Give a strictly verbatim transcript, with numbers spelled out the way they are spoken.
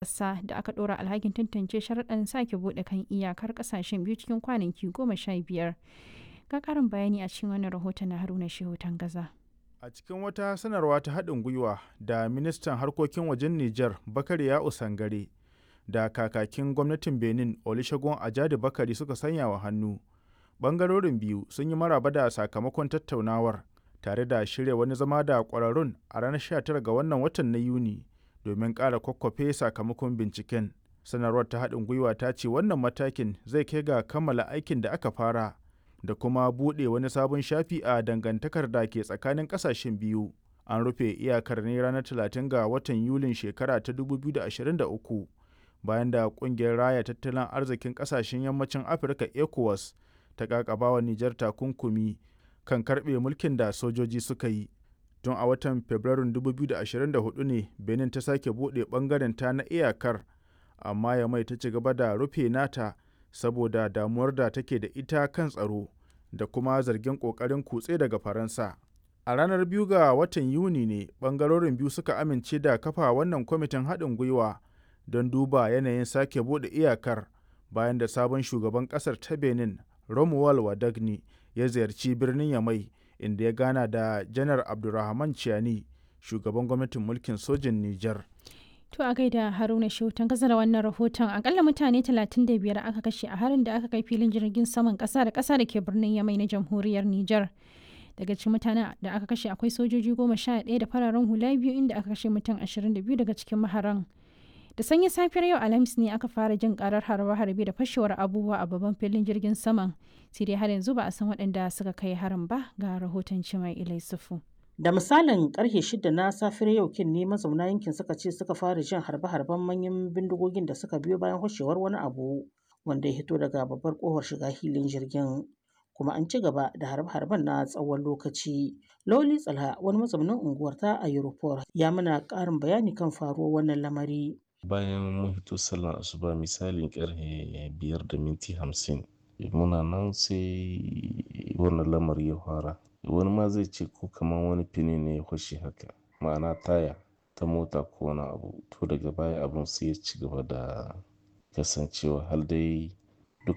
Ƙasa da aka ɗora alhakin tantance sharuɗan sake buɗe kan iyakar ƙasashen biyu cikin kwanaki goma sha biyar. Ga ƙarin bayani a cikin wannan rahoton na Haruna Shehu Tangaza. A cikin wata sanarwa ta haɗin gwiwa da ministan harkokin wajen Nijar Bakari Ya'u Sangare da kakakin gwamnatin Benin Olusegun Ajadi Bakari suka sanya wa hannu. Bangarorin biyu sun yi maraba da sakamakon tattaunawar tare da shirya wani zama da ƙwararrun a ranar sha tara ga wannan watan na Yuni domin ƙara kwakwafe sakamakon binciken. Sanarwar ta haɗin gwiwa ta ce wannan matakin zai kai ga kammala aikin da aka fara da kuma buɗe wani sabon shafi a dangantakar da ke tsakanin ƙasashen biyu. An rufe iyakar ne ranar talatin ga watan Yulin shekara ta dubu biyu da ashirin da uku bayan da ƙungiyar Raya Tattalin Arzikin Ƙasashen Yammacin Afirka ECOWAS ta ƙaƙabawa Nijar takunkumi kan karɓe mulkin da sojoji suka yi. Tun a watan Fabrairun dubu biyu da ashirin da huɗu ne Benin ta sake buɗe ɓangarenta na iyakar, amma Yamai ta ci gaba da rufe nata saboda damuwar da take da ita kan tsaro da kuma zargin ƙoƙarin kutse daga Faransa. A ranar biyu ga watan Yuni ne ɓangarorin biyu suka amince da kafa wannan kwamitin haɗin gwiwa don duba yanayin sake buɗe iyakar bayan da sabon shugaban ƙasar ta Benin Romuald Wadagni ya ziyarci birnin Yamai, inda ya gana da Janar Abdurrahman Chiani, shugaban gwamnatin mulkin sojin Nijar. To a gaida Haruna Shehu kasar da wannan rahoton. Akalla mutane talatin da biyar aka kashe a harin da aka kai filin jirgin saman kasa da kasa da ke birnin Yamai na jamhuriyar Nijar. Daga cikin mutanen da aka kashe akwai sojoji goma sha ɗaya da fararen hula biyu, inda aka kashe mutum ashirin da biyu daga cikin maharan. Da sanyin safiyar yau Alhamis ne aka fara jin karar harbe-harbe da fashewar abubuwa a babban filin jirgin saman. Sai dai har yanzu ba a san waɗanda suka kai harin ba. Ga rahoton Cimai Ilai Sufu. Da misalin karfe shida na safiyar yau kin ne mazauna yankin suka ce suka fara jin harbe-harben manyan bindigogin da suka biyo bayan hoshewar wani abu wanda ya hito daga babbar kofar shiga hilin jirgin. Kuma an ci gaba da harbe-harben na tsawon lokaci. Loli Tsalha, wani mazaunin unguwar ta a Europol, ya mana ƙarin bayani kan faruwar wannan lamari. Bayan mun fito sallar asuba, misalin karfe biyar da minti hamsin, muna nan sai wannan lamari ya fara. Wani ma zai ce ko kamar wani fini ne ya fashe haka, ma'ana taya ta mota ko wani abu. To daga baya abun sai ya ci gaba da kasancewa har dai